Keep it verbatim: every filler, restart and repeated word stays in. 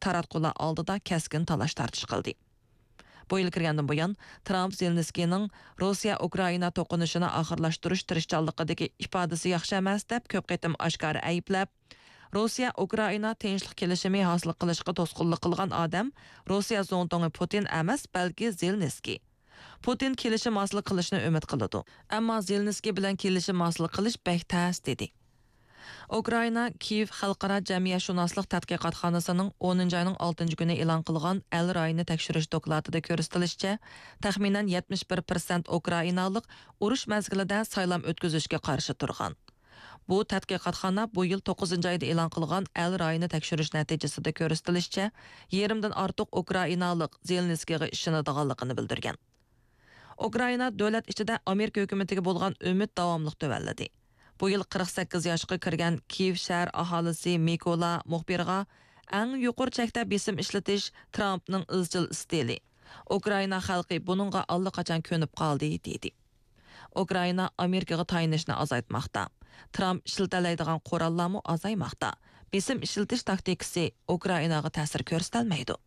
تاراتقۇلار ئالدىدا كەسكىن تالاش-تارتىش قىلدى. بۇ يىل كىرگەندىن بۇيان، ترامپ زېلېنسكىينىڭ روسىيە-ئۇكرائىنا توقۇنۇشىنى ئاخىرلاشتۇرۇش تىرىشچانلىقىدىكى ئىپادىسى ياخشى ئەمەس دەپ كۆپ قېتىم ئاشكارا ئەيىبلەپ، روسىيە-ئۇكرائىنا تىنچلىق كېلىشىمى ھاسىل قىلىشقا توسقۇنلۇق قىلغان ئادەم روسىيە زۇڭتۇڭى پۇتىن ئەمەس، بەلكى زېلېنسكىي. پۇتىن كېلىشىم ھاسىل قىلىشنى ئۈمىد قىلىدۇ، ئەمما زېلېنسكىي بىلەن كېلىشىم ھاسىل قىلىش بەك تەس، دېدى. ئۇكرائىنا كىيېۋ خەلقئارا جەمئىيەتشۇناسلىق تەتقىقاتخانىسىنىڭ ئونىنچى ئاينىڭ ئالتىنچى كۈنى ئېلان قىلغان ئەل رايىنى تەكشۈرۈش دوكلاتىدا كۆرسىتىلىشىچە، تەخمىنەن يەتمىش بىر پىرسەنت ئۇكرائىنالىق ئۇرۇش مەزگىلىدە سايلام ئۆتكۈزۈشكە قارشى تۇرغان. بۇ تەتقىقاتخانا بۇ يىل توققۇزىنچى ئايدا ئېلان قىلغان ئەل رايىنى تەكشۈرۈش نەتىجىسىدە كۆرسىتىلىشىچە، يېرىمدىن ئارتۇق ئۇكرائىنالىق زېلېنسكىيغا ئىشىنىدىغانلىقىنى بىلدۈرگەن. ئۇكرائىنا دۆلەت ئىچىدە ئامېرىكا ھۆكۈمىتىگە بولغان ئۈمىد داۋاملىق تۆۋەنلىدى. بۇ يىل قىرىق سەككىز ياشقا كىرگەن كىيېۋ شەھەر ئاھالىسى مىكولا مۇخبىرغا، ئەڭ يۇقىرى چەكتە بېسىم ئىشلىتىش ترامپنىڭ ئىزچىل ئىستىلى. ئۇكرائىنا خەلقى بۇنىڭغا ئاللىقاچان كۆنۈپ قالدى، دېدى. ئۇكرائىنا ئامېرىكىغا تايىنىشنى ئازايتماقتا. ترامپ ئىشلىتەلەيدىغان قوراللارمۇ ئازايماقتا. بېسىم ئىشلىتىش تاكتىكىسى ئۇكرائىناغا تەسىر كۆرسىتەلمەيدۇ.